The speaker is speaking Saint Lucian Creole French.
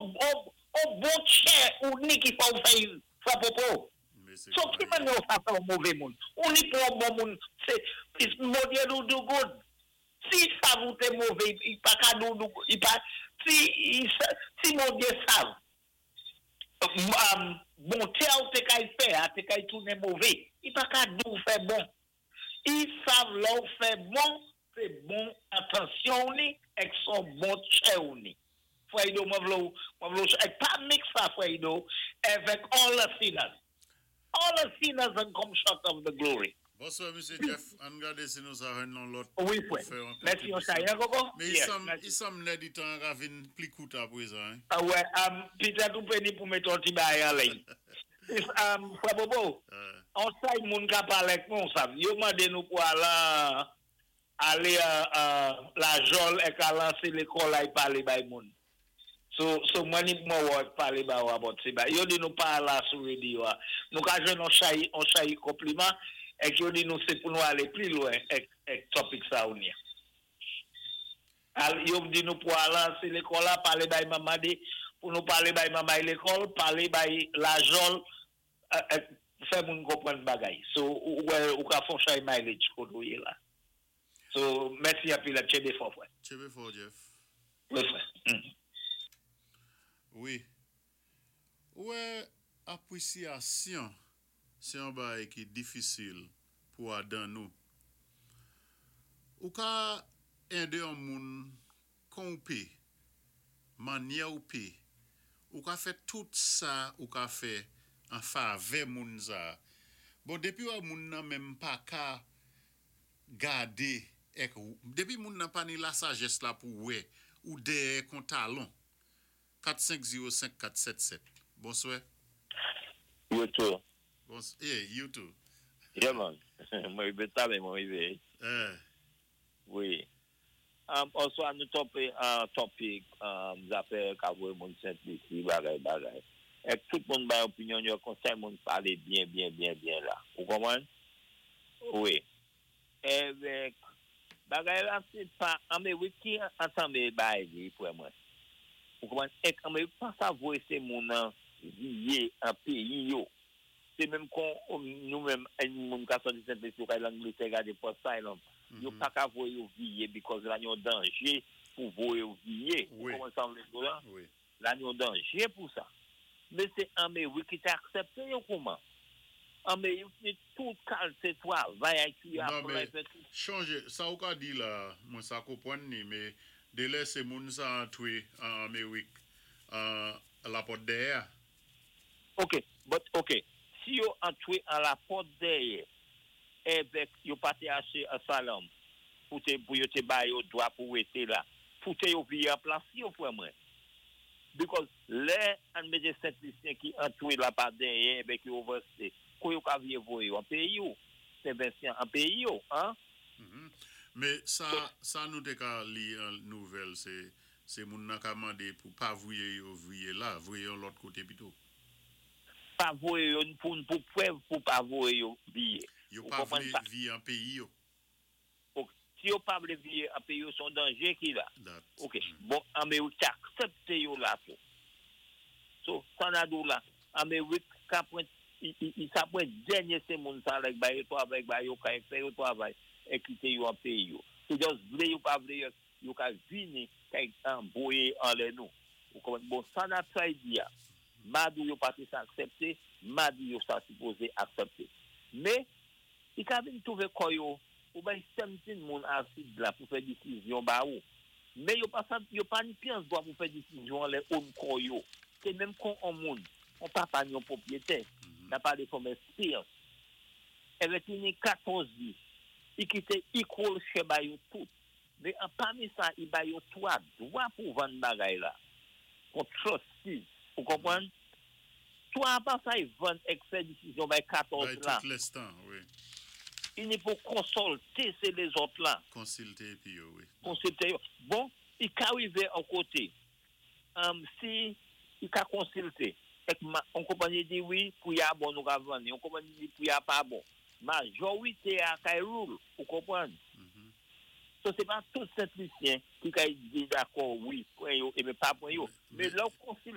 On bon tchè ou ni ki fè ou fè fè popo. So ki mannyè ou sa fè on mové moun? Ou ni pou on bon moun sé Bondyé di ou do good. Si i sav ou té mové, i pa ka di ou do i pa si si Bondyé sav bonté a ou té kay fè a té kay tounen mové, i pa ka di ou fè bon. I sav lè ou fè bon, sé bon entansyon ou ni èk son bon tchè ou ni. Frè Ido, mwen vlé ou, mwen vlé ou, èk pa mix sa, frè Ido, èvèk all the sinners. All the sinners and come short of the glory. Bonswa, Mesye Jeff. Ann gadé si nou sa jwenn yon lòt Wi, pou frè. fè yon Mèsi yon kontribisyon. chay, hein, Koko? Mé i Yes, sanm, mèsi. I sanm lè di tan ka vin pli kout aprezan, hein? Ah wè, pitèt ou péni pou mété yon ti bagay an liy. Frè Bobo, on say moun ka palé ak nou, sav. Yo mandé nou pou alan alé Lajòl èk alan sé lékòl ay palé bay moun. So mwen ni mwen wè palé ba ou about sé ba. Yo di nou pa la sou radio a. Nou ka jwenn on chay konpliman èk yo di nou sé pou nou alé pli lwen èk topic sa ou ni. Yo di nou pou alan sé lékòl la, palé bay manman de, pou nou palé bay manman lékòl, palé bay Lajòl, fè moun konpwann bagay. So, ou, ou ka fon chay mileage koté ou yé la. So, mèsi anpil, tchébé fò, frè. Tchébé fò, Jeff. Wi, frè. Wi. Wè, apwisyasyon, sé yon bagay ki difisil pou adan nou. Ou ka édé yon moun kon ou pé, mannyè ou pé, ou ka fè tout sa ou ka fè an favè moun sa. Bon, dépi wè moun nan menm pa ka gadé èk dépi moun nan pa ni la sajès la pou wè ou dèyè kon talon. 4 5 0 5 4 7 7. Bonswa. You too. Bon, yeah, you too. Yeah, man. Mwen rivé talè, mwen rivé. Wi. Oswa nou tonbé an topic, zafè ka voyé moun Sent Lisi, bagay, bagay. Èk tout moun bay opinyon yo, konsèy moun palé byen, byen, byen, byen la. Ou konpwann? Wi. Èvèk, bagay la sé pa, Amerik ki antanmé bay li pou mwen. Ou konpwann? Èk Amerik pa sa voyé sé moun an viwé an péyi yo. Sé menm kon nou menm moun ka sòti Sent Lisi ou ka Langlétè gadé pou asylum. Yo pa ka voyé yo viwé because la yon danjé pou voyé yo viwé. Ou konpwann sa m vlé di la? Wi. La yon danjé pou sa. Mé sé Amerik ki té aksèpté yo kouman. Amerik ni tout kalité twavay ki Non, apply mé fè tout. chanjé, sa ou ka di la, mwen sa konpwann ni, mé dé lè sé moun sa antwé an Amerik an la pòt dèyè. Ok, but ok, si yo antwé an la pòt dèyè, èvèk yo pa té aché asylum, pou té, pou yo té bay yo dwa pou wété la, pou té yo viwé an plas yo frè mwen. Because lè an mété Sent Lisyen ki antwé la pa dèyè, èvèk yo overstay, kou yo ka viwé voyé yo an péyi yo, Sen Vensyan an péyi yo, hein? Mé sa, sa nou té ka li an nouvèl, sé moun nan ka mandé pou pa voyé yo viwé la, voyé yon lòt koté pito. Pa voyé yo pou prèv pou pa voyé yo viwé. Yo Ou pa konpwann vlé sa? viwé an péyi yo. Ok. Si yo pa vlé viwé an péyi yo, son danjé ki la. That. Ok, bon, Amerik té aksèpté yo la tou. So, sa na di ou la, Amerik ka pwen, i sa pwen dènyé sé moun sa lèk bay yo twavay, bay yo kay, fè yo twavay, é kité yo an péyi yo. Se just vlé yo pa vlé yo, yo ka vini, kay an voyé anlè nou. Ou konpwann? Bon, sa na try di ya, madou yo pa té sa aksèpté, madou yo sa sipozé aksèpté. Mé, i ka vin twouvé kò yo, ou bay 17 moun asid la pou fè disizyon ba ou. Mé yo pa sa, yo pa ni pyès dwa pou fè disizyon anlè own kò yo. Sé menm kon on moun, on papa ni yon pwopriyétè, n'a palé from experience. Èvèk i ni 14 vi, i kité equal share ba yo tout. Mé an pami sa, i ba yo 3 dwa pou vann bagay la. Kon trustees, ou konpwann? 3 pa sa i vann èk fè disizyon bay 14 Bay la. tout lenstan, wi. I ni pou konsilté sé lézòt la. Konsilté épi yo, wi. Konsilté yo. Bon, i ka rivé an koté. Si i ka konsilté, èk on konpanyi di wi, pou ya bon nou ka vann, yon konpanyi di pou ya pa bon. Majorité a kay rule, ou konpwann? So sé pa tout Sent Lisyen ki ka di dakò wi, pwan yo, é pa pwan yo. Mé lè ou konsilte